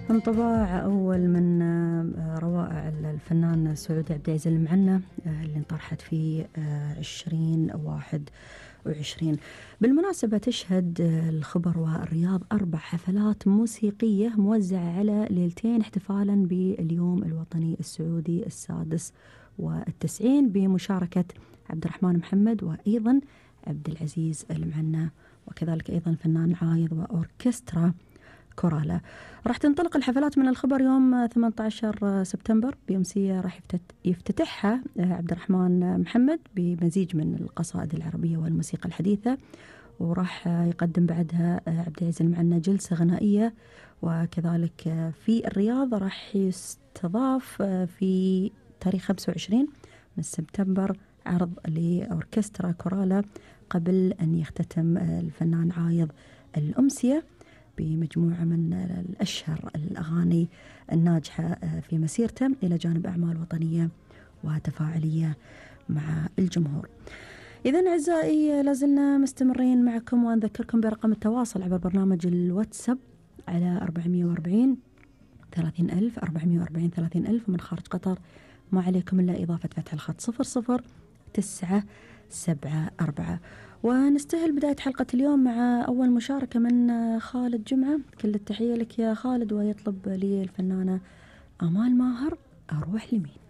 انطباع أول من روائع الفنان سعودي عبد العزيز المعنى اللي انطرحت في 2021. بالمناسبة تشهد الخبر والرياض 4 حفلات موسيقية موزعة على ليلتين احتفالا باليوم الوطني السعودي ال96 بمشاركة عبد الرحمن محمد وأيضا عبد العزيز المعنى، وكذلك أيضا فنان عايض وأوركسترا كورالا. راح تنطلق الحفلات من الخبر يوم 18 سبتمبر بأمسية راح يفتتحها عبد الرحمن محمد بمزيج من القصائد العربية والموسيقى الحديثة، وراح يقدم بعدها عبد العزيز المعنى جلسة غنائية. وكذلك في الرياض راح يستضاف في تاريخ 25 من سبتمبر عرض لأوركسترا كورالا قبل أن يختتم الفنان عايض الأمسية بمجموعة من الأشهر الأغاني الناجحة في مسيرته إلى جانب أعمال وطنية وتفاعلية مع الجمهور. إذن أعزائي لازلنا مستمرين معكم، وأنذكركم برقم التواصل عبر برنامج الواتساب على 440 30,000 440 30,000، ومن خارج قطر ما عليكم إلا إضافة فتح الخط 00974. ونستهل بداية حلقة اليوم مع أول مشاركة من خالد جمعة. كل التحية لك يا خالد، ويطلب لي الفنانة آمال ماهر أروح لمين.